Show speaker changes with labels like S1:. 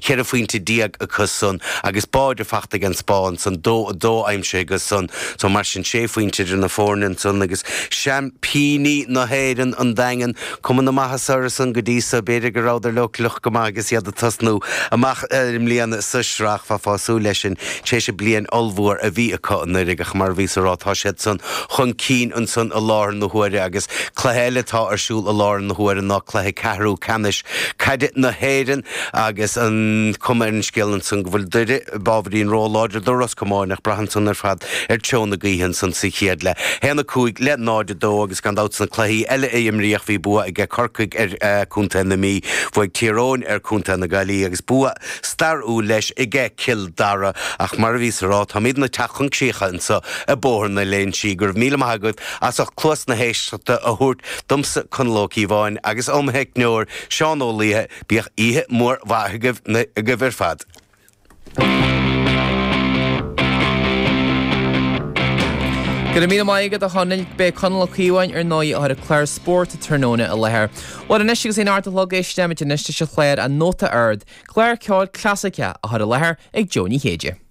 S1: 14 phointe acu san agus báide fachta ag an Spáinn ansan, 2, 2 aimsithe acu san. So mar sin, sé phointe idir na foirne ansan agus seaimpíní na hÉireann, an Daingean, cuma na maitheasa orthu san go dtí so. B'fhéidir go rabhadar leochaileach go maith agus iad ag tosnú amach i mbliana sa sraith. Bheifeá ag súil leis sin tar éis an bliain ollmhór a bhí acu anuraidh ach mar a bhíos a rá tá siad san chun cinn ansan i láthair na huaire agus cluiche eile atá ar siúl i láthair na huaire ná cluiche ceathrú ceannais caide na hÉireann agus an cuma ar an scéal ansan go bhfuil Doire ábhairín ró-láidir do Ros Comáin ach braitheann san ar fad ar treo na gaoithe ansan sa chéad leath. 1, 5 le 0, 2 agus gan dabht sna cluichí eile a imríodh bhí bua aige Corcaigh ar Contae na Mí, bhuaigh Tír Eoghain ar Contae na Gaillimhe agus bua stairiúil leis aige Cill Dara. Ach mar a bhíos a rá, táimidne ag teacht chun críche anso i Bóthar na Léinsí. Go raibh míle maith agaibh as ucht cluas na héisteachta a thabhairt domsa, Conall Ó Cíobháin, agus óm theicneoir, Seán Ó Laoithe. Bíodh oíche mhór mhaith agaibh ar fad.
S2: Go raibh míle maith agat a Chonaill. Beidh Conall Ó Cíobháin ar ndóigh ag cur an clár spóirt tráthnóna i láthair. Bhuel anois agus é an a chlog éistfimid anois leis an chlár An Nóta Ard, clár ceoil clasaiceach á chur i láthair ag Jó Ní Chéide.